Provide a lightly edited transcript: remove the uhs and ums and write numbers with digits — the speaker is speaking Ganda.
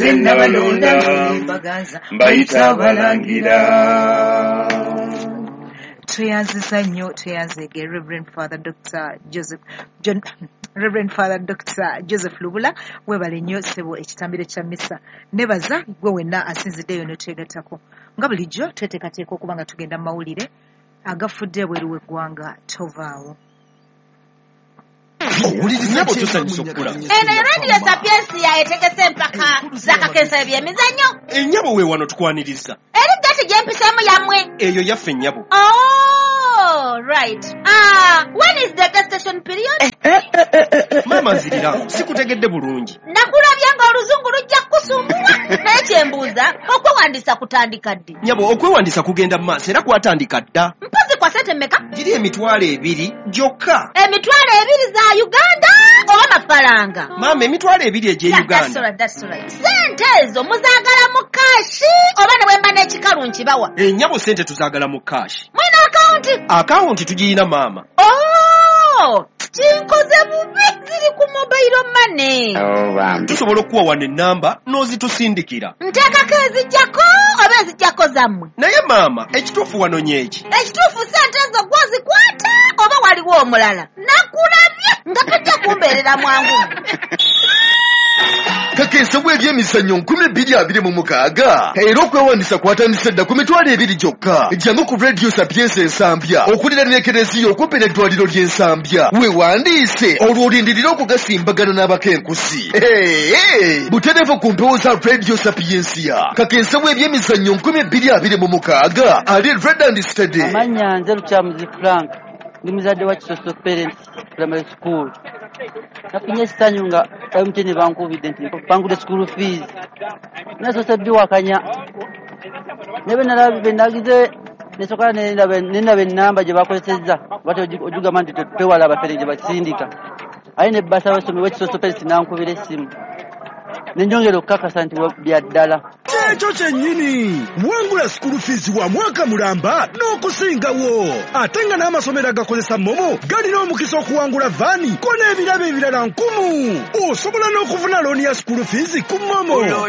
Nze nabalonda Baganza mbayita abalangira. Tweyanziza nnyo, tweyanzeege Reverend Father Dr Joseph John, Reverend Father Dr Joseph Lubula. Webale nnyo ssebo ekitambiro kya misa. Nebaza gwe wenna asinziddeeyo netwegattako. Nga bulijjo tweteekateeka okuba nga tugenda mu mawulire agafudde ebweru w'eggwanga. Tovaawo. Nnyabo, tusanyusa okukulaba. Eno Radio Sapiensia etegese empaka z'akakensa ebyemizannyo. Ennyabo, we wano tukwaniriza. Eri gati gyempiseemu yammwe? Eyo yaffe, nnyabo. Oh, right. Ah, when is the gestation period? Maama, nzirira, sikutegedde bulungi. Nakulabye ng'oluzungu lujja kukusumbuwa, naye kyembuuza, okwewandiisa kutandika ddi? Nnyabo, okwewandiisa kugenda mu maaso era kwatandika dda. Mpozi kwa sente mmeka? Giri 20,000 gyokka. 20,000 za Uganda oba mafaranga? Maama, 20,000 egy'e Yeah, that's Uganda. all right, that's all right. Sente ezo muzaagala mu cash oba ne bwe mba n'ekikalu nkibawa? Ennyabo, sente tuzaagala mu cash. Mwina akawunti? Akawunti tugiyina, maama. Oh, kinkoze bubi, ziri ku mobile money. Tusobola okuwa wano ennamba n'ozitusindikira. Nteekako ezijjako oba ezijjako zammwe? Naye maama, ekituufu wanonye eki? Ekituufu, sente ezo gwozikwata oba waliwo omulala? Nakulabye nga tojja kumbeerera mwangu. Kakesebwa ebyemizannyo 2026, era okwewandisa kwatandise dda ku 20,000 gyokka. Jangu ku Radio Sapiensia Ensambya okuliraana ekereziya okumpi n'eddwaliro ly'Ensambya, weewandiise olwo olindirire okugasimbagana n'abakenkusi. Hey, butereevu ku mpewo za Radio Sapiensia. Kakensebwa ebyemizannyo 2026 ali ready and steady. Amannya nze Lukyamuzi Frank, ndi muzadde wa Kisoso Parents Primary School. Nafunye essanyu nga MTN bankubidde nti bangudde school fees. Nasoose biwakanya, naye bwe nagize nesooka nendaba ennamba gye bakozesezza, bati ogigamba nti twewala abafere gye basindika, aye ne basa abasomero w'Ekisoso Parents nankubira essimu nenjongera okukakasa nti bya ddala. Kyekyo kyennyini, wangula school fees wa mwaka mulamba n'okusingawo, ate nga n'amasomero agakozesa MoMo galina omukisa okuwangula van ko n'ebirabo ebirala nkumu. Osobola n'okufuna loan ya school fees ku MoMo.